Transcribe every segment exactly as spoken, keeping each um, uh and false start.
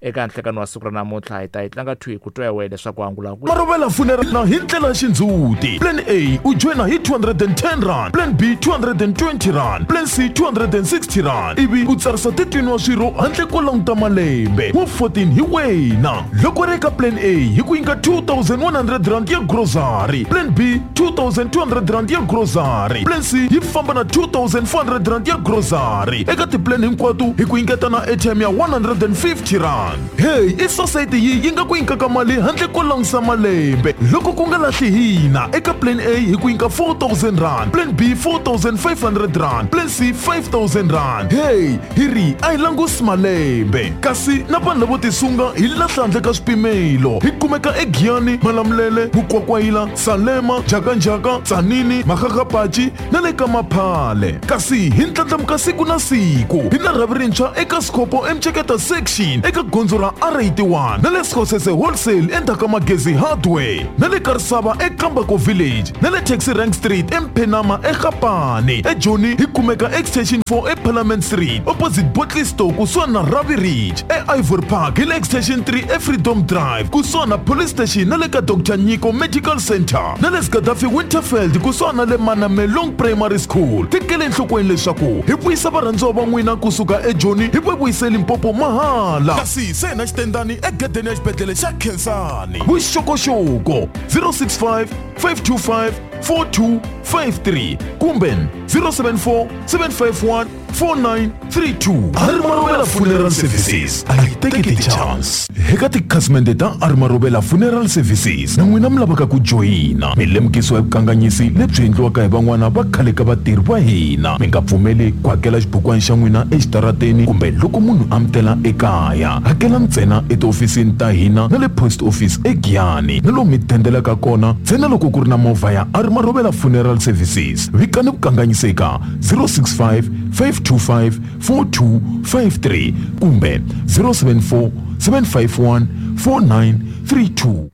Eka nhlekano wa siku ra namuntlha hi ta yi tlanga thwi ku twa wena leswaku angula ku Marobela Funeral na hi ndlela ya xindzhuti. Plan A u joina hi two hundred and ten rand, Plan B two hundred and twenty rand, Plan C two hundred and sixty rand. Ivi u tsarisa thirteen wa swirho handle ko languta malembe wa fourteen hi wena. Loko ri eka Plan A hi ku nyika two thousand one hundred rand ya grocery, Plan B two thousand two hundred rand ya grocery, Plan C yi famba na two thousand four hundred rand ya grocery. Eka ti-plan hinkwato hi ku nyiketa na airtime ya one hundred and fifty rand. Hey, i society yi yi nga ku nyikaka mali handle ko langusa malembe. Loko ku nga lahli hina eka Plan A hi ku nyika four thousand rand, Plan B four thousand five hundred rand, Plan C five thousand rand. Hey, hi ri a hi langusi malembe. Kasi na vanhu lavo tisunga hi lahla handle ka swipimelo. Hi kumeka eGiyani, Malamulele, Mukwakwayila, Salema, Jakanjaka, Tsanini, Makgakgapachi na le ka Maphale. Kasi hi ndlandlamuka siku na siku. Hi na rhavi rintshwa eka Skhopho eMceketa section eka gondzo ra R eighty-one na le Skhosese Wholesale endzhaku ka Magezi Hardware na le Karisava eKambako Village na le Taxi Rank Street eMphenama eGapane. eJoni hi kumeka Extension four eParliament Street opposite Bottle Store kusuhani na Ravi Ridge. E-Ivory Park hi le Extension three eFreedom Drive kusuhani na Police Station na le ka Doctor Nyiko Medical Center na le Gaddafi Winterfeld kusuhani na le Manamelong Primary School. Tekele enhlokweni leswaku hi vuyisa varhandziwa va n'wina kusuka eJoni hi va vuyise Limpopo mahala. Kasi se na xitendani egedeni ya xibedhlele xa Khensani. Vuxokoxoko zero six five, five two five, four two five three kumbe zero seven four, seven five one, four nine three two. Arimarobela Funeral Services a yi teki ti-chance. Eka tikhasimende ta Arimarobela Funeral Services na n'wina mi lavaka ku joyina, mi lemukisiwa hi vukanganyisi lebyi endliwaka hi van'wana va khale ka vatirhi va hina. Mi nga pfumeli ku hakela xibukwana xa n'wina exitarateni kumbe loko munhu a mi tela ekaya. Hakela ntsena etihofisini ta hina na le post office eGiyani na lomu mi dendelaka kona ntsena loko ku ri na movha ya Arimarobela Funeral Services. Vikani vukanganyisi eka zero six five, five two five, four two five three kumbe zero seven four, seven five one, four nine three two.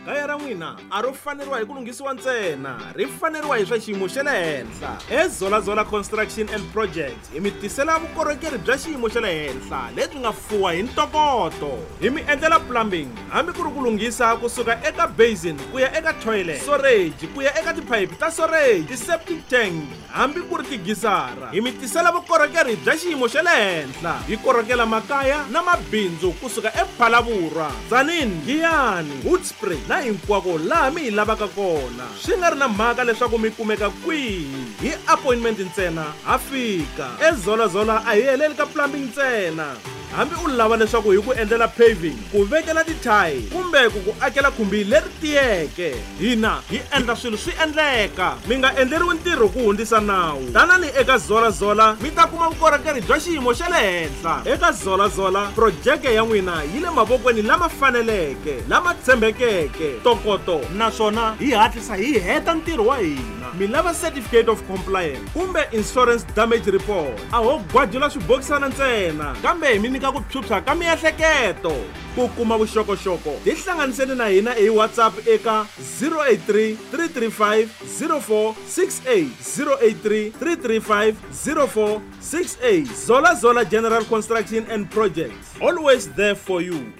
Kaya ra n'wina a ro faneriwa hi ku lunghisiwa ntsena, ri faneriwa hi swa xiyimo xa le henhla. EZola Zola Construction and Project hi mi tisela vukorhokeri bya xiyimo xa le henhla lebyi nga fuwa hi ntokoto. Hi mi endlela plumbing hambi ku ri ku lunghisa kusuka eka basin ku ya eka toilet, storage ku ya eka tiphayiphi ta storage, ti-septic tank hambi ku ri tigisara. Hi mi tisela vukorhokeri bya xiyimo xa le henhla. Hi korhokela makaya na mabindzu kusuka ePhalaborwa, Tzaneen, Giyani, Hoedspruit na hinkwako laha mi hi lavaka kona. Swi nga ri na mhaka leswaku mi kumeka kwihi, hi appointment ntsena ha fika. EZola Zola a hi heleli ka plumbing ntsena. Hambi u lava leswaku hi ku endlela paving, ku vekela ti-tile kumbe ku ku akela khumbi leri tiyeke, hina hi endla swilo swi endleka. Mi nga endleriwi ntirho ku hundzisa nawu. Tanani eka Zola Zola mi ta kuma vukorhokeri bya xiyimo xa le henhla. Eka Zola Zola projeke ya n'wina yi le mavokweni lama faneleke, lama tshembekeke, ntokoto, naswona hi hatlisa hi heta ntirho wa hina. Mi lava certificate of compliance kumbe insurance damage report, a ho gwajula swibokisana ntsena, kambe hi mi nyika ku phyuphya ka miehleketo. Ku kuma vuxokoxoko tihlanganiseni na hina hi WhatsApp eka zero eight three, three three five, zero four six eight, zero eight three, three three five, zero four six eight. Zola Zola General Construction and Projects, always there for you.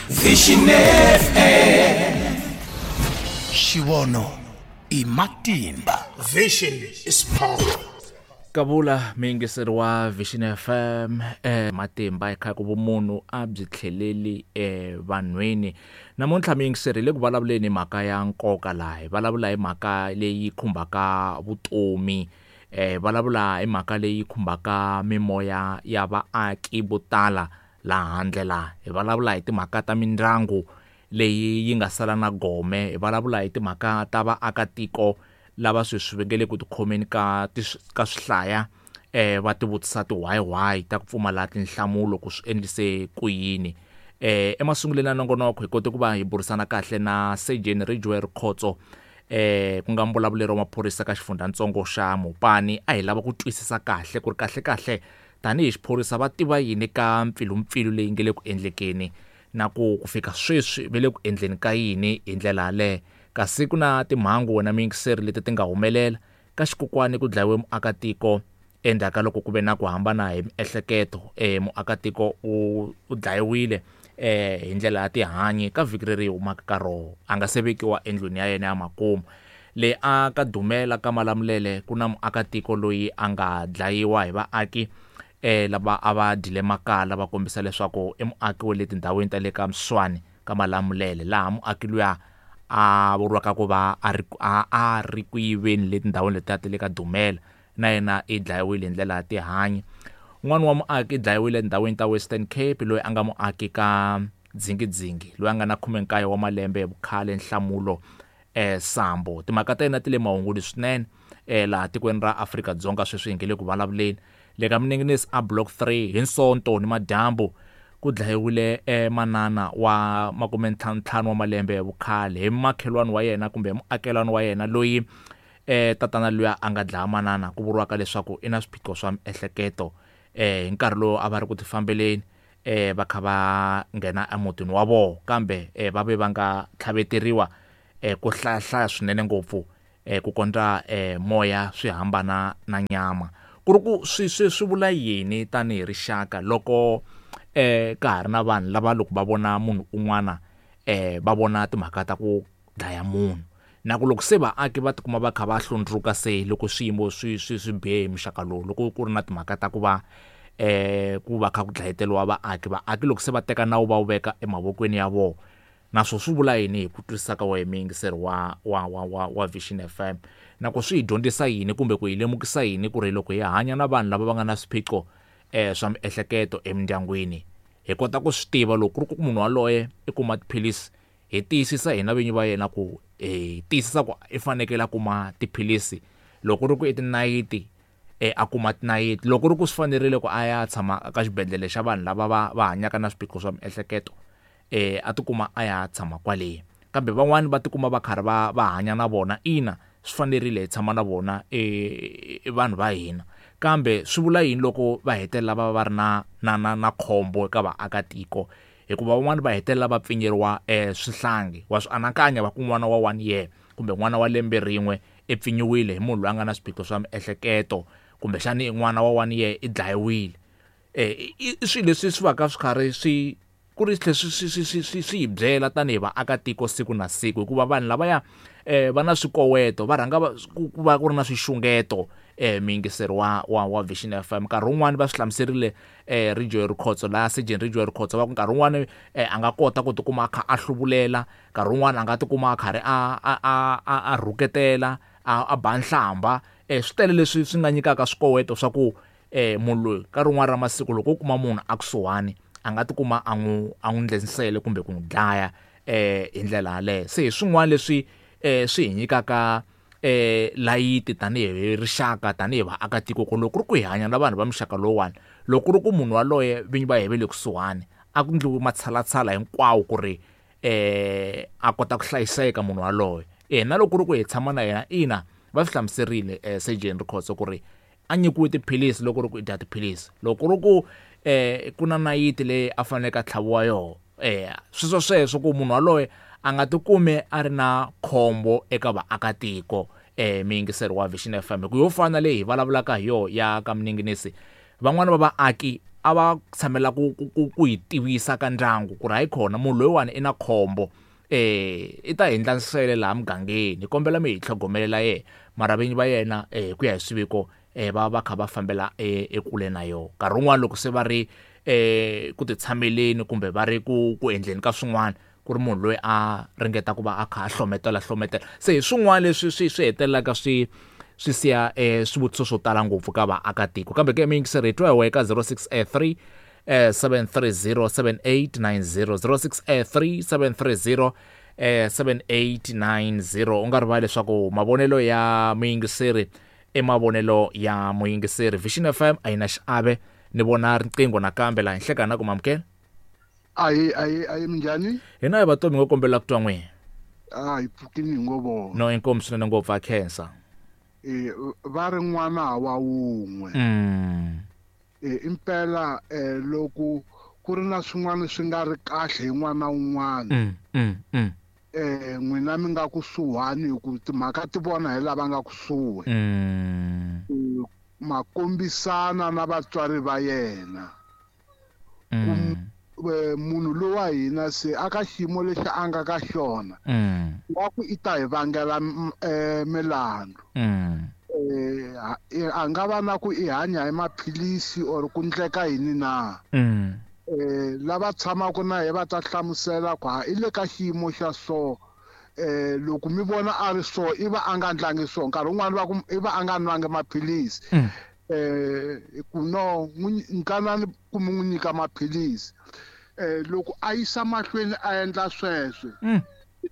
Vision F M. Xivono i matimba. Vision is power. Kabula miyingiseri wa Vision F M, eh, matimba eka ku vumunhu a byi tlheleli evanhwini. Namuntlha miyingiseri le ku vulavuleni mhaka ya nkoka laha hi vulavula hi mhaka leyi khumbaka vutomi, eh, vulavula hi mhaka leyi khumbaka mimoya ya vaaki vo tala laha handle laha. Hi vulavula hi timhaka ta mindyangu leyi yi nga sala na gome, hi vulavula hi timhaka ta vaakatiko lava sweswi va nge le ku tikhomeni ka ka swihlaya, eh, va tivutisa ti-why why ta ku pfumala tinhlamulo ku swi endlise ku yini. Eh, emasungulweni ya nongonoko hi kote ku va hi burisana kahle na Sergeant Ridgeway Rikhotso, eh, ku nga mbulavuleri wa maphorisa ka xifundzhantsongo xa Mopani. A hi lava ku twisisa kahle ku ri kahle kahle tanihi xiphorisa va tiva yini ka mpfilumpfilu leyi nge le ku endlekeni na ku ku fika sweswi va le ku endleni ka yini hi ndlela yaleyo. Kasi ku na timhangu wena miyingiseri leti ti nga humelela ka xikokwani ku dlayiwe muakatiko Endzhaku ka loko ku ve na ku hambana hi miehleketo eh muakatiko u u dlayiwile eh hi ndlela ya tihanyi ka vhiki leri humaka ka roho a nga se vekiwa endlwini ya yena ya makumu. Le a ka Dumela ka Malamulele ku na muakatiko loyi a nga dlayiwa hi vaaki eh lava a va dyile makala va kombisa leswaku i muaki wa le tindhawini ta le ka Mswani ka Malamulele, laha muaki luya a vuriwaka ku va a ri a a ri ku yiveni le tindhawini letiya ta le ka Dumela, na yena i dlayiwile hi ndlela ya tihanyi. Un'wana wa muaki i dlayiwile endhawini ta Western Cape, loyi a nga muaki ka Dzingidzingi, loyi a nga na khume nkaye wa malembe hi vukhale, Nhlamulo eh Sambo. Timhaka ta yena ti le mahungwini swinene eh laha tikweni ra Afrika-Dzonga sweswi hi nge le ku vulavuleni. Le ka Minenginisi a Block three hi Sonto ni madyambu ku dlayiwile eh manana wa makume ntlhanu ntlhanu wa malembe hi vukhale hi makhelwani wa yena kumbe muakelani wa yena loyi eh tatana luya a nga dlaya manana, ku vuriwaka leswaku i na swiphiqo swa miehleketo. Eh hi nkarhi lowu a va ri ku tifambeleni eh va kha va nghena emutini wa vona, kambe eh va ve va nga tlhaveteriwa eh ku hlayahlaya swinene ngopfu eh ku kondza eh moya swi hambana na nyama. Ku ri ku swi swi swi vula yini tanihi rixaka loko eh ka ha ri na vanhu lava loko va vona munhu un'wana eh va vona timhaka ta ku dlaya munhu, na ku loko se vaaki va tikuma va kha va hlundzuka se loko swiyimo swi swi swi bihe hi muxaka lowu, loko ku ri na timhaka ta ku va eh ku va kha ku dlayeteriwa vaaki, vaaki loko se va teka nawu va wu veka emavokweni ya vona, naswo swi vula yini hi ku twisisa ka wena muyingiseri wa wa wa wa wa Vision F M, na ku swi hi dyondzisa yini kumbe ku hi lemukisa yini ku ri loko hi hanya na vanhu lava va nga na swiphiqo eh swa miehleketo emindyangwini hi kota ku swi tiva loko ku ri ku munhu waloye i kuma tiphilisi, hi tiyisisa hina vinyi va yena ku hi tiyisisa ku i fanekele a kuma tiphilisi, loko ku ri ku i tinayiti eh a kuma tinayiti, loko ku ri ku swi fanerile ku a ya tshama ka xibedhlele xa vanhu lava va va hanyaka na swiphiqo swa miehleketo eh a tikuma a ya tshama kwale. Kambe van'wani va tikuma va karhi va va hanya na vona, ina swi fanerile hi tshama na vona eh vanhu va hina, kambe swi vula yini loko va hetelela va va ri na na na na khombo eka vaakatiko, hikuva van'wani va hetelela va pfinyeriwa eh swihlangi. Wa swi anakanya va ku n'wana wa one year kumbe n'wana wa lembe rin'we i pfinyiwile hi munhu loyi a nga na swiphiqo swa miehleketo, kumbexani n'wana wa one year i dlayiwile. Eh i swilo leswi swi va ka swi karhi swi ku ri tlhe swi swi swi swi swi hi byela tanihi vaakatiko siku na siku, hikuva vanhu lavaya eh va na swikoweto, va rhanga va ku va ku ri na swixungeto eh muyingiseri wa wa wa Vision F M. Nkarhi wun'wani va swi hlamuserile eh Ridgeway Rikhotso laha Surgeon Ridgeway Rikhotso, va ku nkarhi wun'wani eh a nga kota ku tikuma a kha a hluvulela, nkarhi wun'wani a nga tikuma a karhi a a a a rhuketela, a a ba nhlamba. Eh swi tele leswi swi nga nyikaka swikoweto swa ku eh munhu loyi ka rin'wana ra masiku loko u kuma munhu a kusuhani a nga tikuma a n'wi a n'wi ndlensele kumbe ku n'wi dlaya eh hi ndlela yaleyo. Se hi swin'wana leswi eh swi hi nyikaka eh layiti tanihi rixaka, tanihi vaakatiko, ku loko ku ri ku hi hanya na vanhu va muxaka lowuwani, loko ku ri ku munhu waloye vinyi va yena va le kusuhani, a ku endliwi matshalatshala hinkwawo ku ri eh a kota ku hlayiseka munhu waloye. Eh na loko ku ri ku hi tshama na yena, ina va swi hlamuserile eh Surgeon Rikhotso ku ri a nyikiwe tiphilisi loko ku ri ku i dya tiphilisi, loko ku ri ku eh ku na nayiti leyi a faneleke a tlhaviwa yoho, eh sweswo sweswo ku munhu waloye a nga tikumi a ri na khombo eka vaakatiko. Eh muyingiseri wa Vision F M, ku yo fana leyi hi vulavulaka hi yoho ya ka Minenginisi, van'wani va vaaki a va tshamela ku ku ku hi tivisa ka ndyangu ku ri hayi khona munhu loyiwani i na khombo, eh i ta endla nsele laha mugangeni, hi kombela mi hi tlhogomelela yena, mara vinyi va yena eh ku ya hi swiviko eh va va kha va fambela ekule na yona. Nkarhi wun'wani loko se va ri eh ku titshameleni kumbe va ri ku ku endleni ka swin'wana, ku ri munhu loyi a ringeta ku va a kha a hlometela hlometela. Se hi swin'wana leswi swi swi hetelelaka swi swi siya eh swivutiso swo tala ngopfu ka vaakatiko. Kambe ke muyingiseri hi twa hi wena ka zero six three seven three zero seven eight nine zero, zero six three seven three zero seven eight nine zero. U nga rivali leswaku mavonelo ya muyingiseri i mavonelo ya muyingiseri. Vision F M a yi na xiave. Ni vona riqingho nakambe laha nhlekani ku mamukela. Ayi ayi ayi minjhani? Hina hi vatomi ngo kombela ku twa n'wina. A hi pfukini hi ngo vona. No inkomu swinene ngopfu a khensa. Eh va ri n'wana wa wun'we. Mm. Eh impela eh loko ku ri na swin'wana swi nga ri kahle hi n'wana wun'wana. Mm, mm, mm. Eh n'wina mi nga kusuhani hi ku timhaka ti vona hi lava nga kusuhi. Mm. Ma kombisana na vatswari va yena. Mm. Munhu lowa hina se aka xiyimo lexi a nga ka xona. Mm. Wa ku i ta hi vangela milandzu. Mm. Eh a nga va na ku i hanya hi maphilisi or ku ndleka yini na. Mm. Eh lava tshamaka na hi va ta hlamusela ku ha i le ka xiyimo xa so. Eh loko mi vona a ri so i va a nga ndlangi so nkarhi wun'wani va ku i va a nga nwangi maphilisi. Mm. Eh ku no nkanani ku mi n'wi nyika maphilisi. Eh loko a yisa mahlweni a endla sweswo. Mm.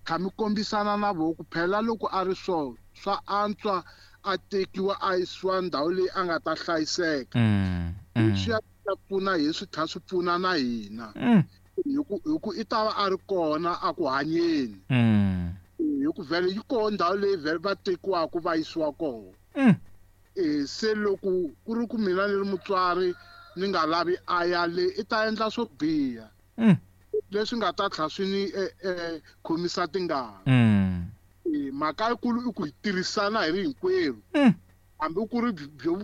Kha mi kombisana na vo ku phela loko a ri so swa antswa a tekiwa a yisiwa ndhawu leyi a nga ta hlayiseka. Mm. Mm. Swi ya pfuna hi swi tlhela swi pfuna na hina. Mm. Hi ku hi ku i ta va a ri kona a ku hanyeni. Mm. Hi ku vhele yi kona ndhawu leyi vhele va tekiwaka va yisiwa kona. Mm. Eh se loko ku ri ku mina ni ri mutswari ni nga lavi a ya le i ta endla swo biha. Mm. Leswi nga ta tlhela swi ni eh khomisa tingana. Mm. Mhaka yikulu i ku hi tirhisana hi ri hinkwerhu. Mm. Hambi ku ri byo